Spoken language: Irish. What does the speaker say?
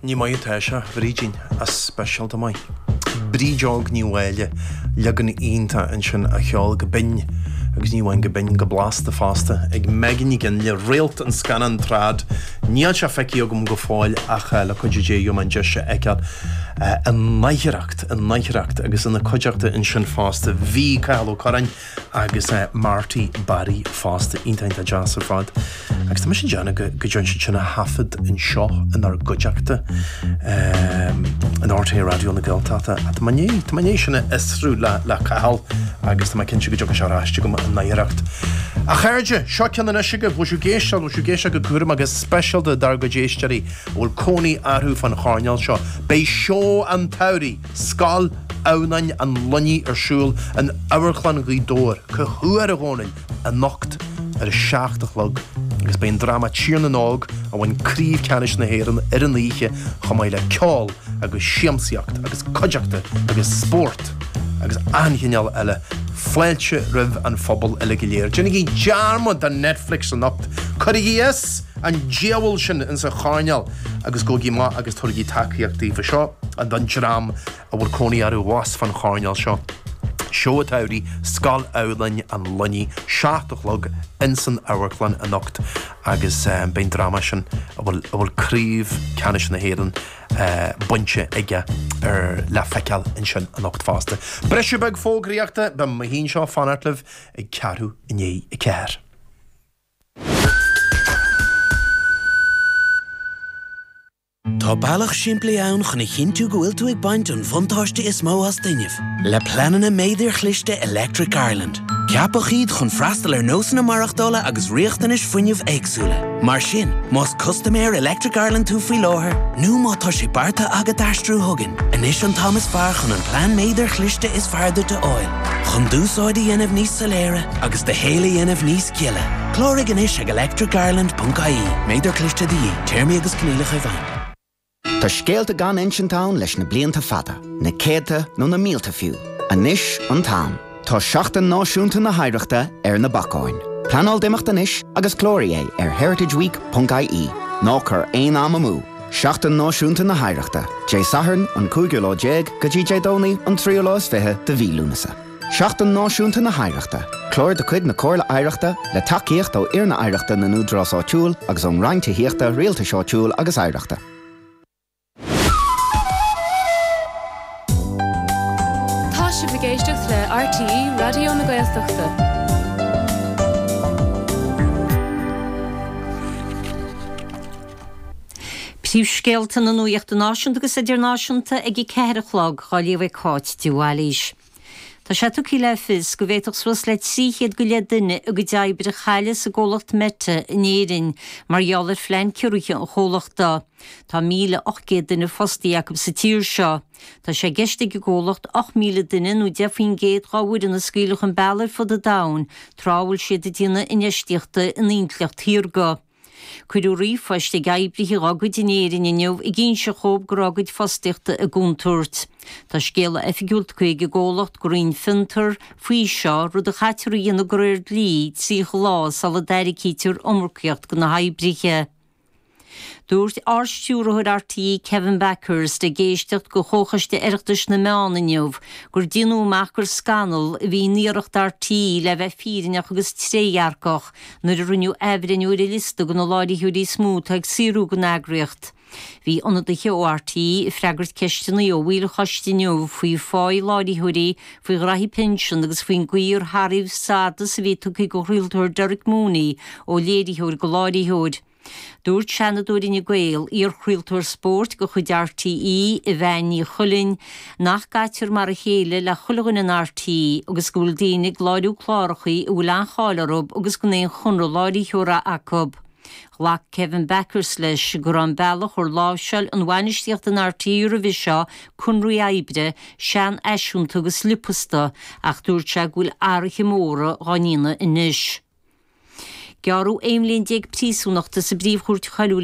Ní maith atá sé, a Bhrídín, ach speisialta maith. Bríd Óg Ní Mháille, leagan iontach ansin a cheol go binn, agus ní amháin go binn, go blasta fosta, ag Megan Ní Fhionnghaile, réalt an scannáin Trad. Níl sé feicthe agam go fóill ach le cuidiú Dé gheobhaidh mé an deis é a fheiceáil i nGairid, i nGairid, agus ina cuideachta ansin fosta bhí Cathal Ó Curráin, agus Marty Barry fosta, iontach iontach deas ar fad. Agus tá mise ag déanamh go go dtearn siad sin a thaifead anseo inár gcuideachta in RTÉ Raidió na Gaeltachta. Tá mé i ndiaidh, tá mé i ndiaidh sin a fhiosrú le le Cathal agus tá mé cinnte go dtiocfaidh sé ar ais chugam i ngairid. A chairde, seo ceann anois agaibh, bhfuil sibh ag éisteacht, bhfuil sibh ag éisteacht go cúramach go speisialta dár gcuid éisteoirí a bhfuil cónaí orthu fán choirnéal seo. Beidh seó an tsamhraidh! Scoil Adhamhnáin an Luinnigh ar siúl in Amharclann Ghaoth Dobhair, cá huair, a Dhónaill? Anocht ar a 7 a chlog agus beidh an dráma Tír na nÓg a bhain Craobh Ceannais na hÉireann ar an oíche chomh maith le ceol agus siamsaíocht agus cuideachta agus spórt agus achan chineál eile. Fáilte roimh an phobal uile go léir. Déanaigí dearmad de Netflix anocht. Cuirigí as an diabhal sin insa choirnéal agus gabhaigí amach agus tabhairigí tacaíocht daofa. Seo don dream a bhfuil cónaí orthu abhus fán choirnéal seo. Seó an tsamhraidh, Scoil Adhamhnáin an Luinnigh, 7 a chlog insan amharclann anocht agus beidh an dráma sin a bhfuil a bhfuil craobh ceannais na hÉireann bainte aige ar le feiceáil ansin anocht fosta. Briseadh beag fógraíochta, beidh mé féin anseo ag fanacht libh ag ceathrú i ndiaidh 4. Tá bealach simplí ann chun a chinntiú go bhfuil tú ag baint an bhuntáiste is mó as d'fhuinneamh, le pleananna méadair chliste Electric Ireland. Ceapadh iad chun freastal ar nósanna maireachtála agus riachtanais fuinnimh éagsúla. Mar sin, más custaiméir Electric Ireland tú faoi láthair, nó má tá sé beartaithe agat aistriú chugainn, anois an t-am is fearr chun an plean méadair chliste is fearr duit a fháil, chun d'úsáid a dhéanamh níos soiléire agus do shaol a dhéanamh níos gile. Cláraigh anois ag electricireland.ie. Méadar cliste de dhíth. Téarmaí agus coinníollacha i bhfeidhm. Tá scéalta gan insint ann leis na blianta fada, na céadta nó na mílte fiú. Anois an t-am. Tá Seachtain Náisiúnta na hOidhreachta ar na bacáin. Pleanáil d'imeacht anois agus cláraigh é ar heritageweek.ie. Ná cuir aon am amú! Seachtain Náisiúnta na hOidhreachta, Dé Sathairn an cúigiú lá déag go dtí Dé Domhnaigh an tríú lá is fiche de mhí Lúnasa. Seachtain Náisiúnta na hOidhreachta, clár de chuid na Comhairle Oidhreachta le tacaíocht ó Fhoirne Oidhreachta na nÚdarás Áitiúil agus ón Roinn Tithíochta, Rialtais Áitiúil agus Oidhreachta. Tá sibh ag éisteacht le RTÉ Raidió na Gaeltachta. Príomhscéalta na nuachta náisiúnta agus idirnáisiúnta ag 4 a chlog, á léamh ag Cáit de Bhailís. Tá sé tugtha le fios go bhféadfadh suas le 300 go leith duine a gcuid oibre a chailleadh sa gcomhlacht Meta in Éirinn mar gheall ar phlean ciorruithe an chomhlachta. Tá 1,800 duine fostaithe acu sa tír seo. Tá sé i gceist ag an gcomhlacht 8,000 duine nó 10% dá bhfoireann a scaoileadh chun bealaigh ar fud an domhain tráth a bhfuil siad ag déanamh infheistíochta in intleacht shaorga. Cuireadh ríomhphoist ag oibrithe dá gcuid in Éirinn inniu ag inse dhóibh go raibh a gcuid fostaíochta i gcontúirt. Tá scéala oifigiúil tugtha ag an gcomhlacht gur Roinn Fiontar faoi seo, rud a chaitear a dhéanamh de réir dlí 30 lá sula dtarraicítear iomarcaíocht do na hoibrithe. Dúirt Ardstiúrthóir RTÉ Kevin Bakhurst ag éisteacht do Chomhchoiste Oireachtais na Meán inniu gur déanadh amach gur scannal a bhí in iarracht RTÉ le bheith fírinneach agus trédhearcach nuair a rinneadh athbhreithniú ar an liosta de na láithreoirí is mó atá ag saothrú don eagraíocht. Bhí ionadaithe ó RTÉ ag freagairt ceisteanna ó bhaill an choiste inniu faoi pháí láithreoirí, faoi ghraithí pinsean agus faoin gcaoi ar hathraíodh stádas a bhí tugtha don chraoltóir Derek Mooney ó léiritheoir go láithreoir. Dúirt Seanadóir Fhine Gael, iarchraoltóir spóirt de chuid RTÉ, Evanne Ní Chuilinn, nach gcaitear mar a chéile le chuile dhuine in RTÉ agus go bhfuil daoine ag láithriú clárachaí a bhfuil an-cháil orthu agus gan aon chonradh láithreora acu. Ghlac Kevin Bakhurst leis go raibh an bealach ar láimhseáil an bhainistíocht in RTÉ roimhe seo conraí oibre seanfhaiseanta agus liopasta ach dúirt sé go bhfuil athruithe móra dhá ndéanamh anois. Gearradh 11 bhliain príosúnachta sa bPríomh-Chúirt Choiriúil.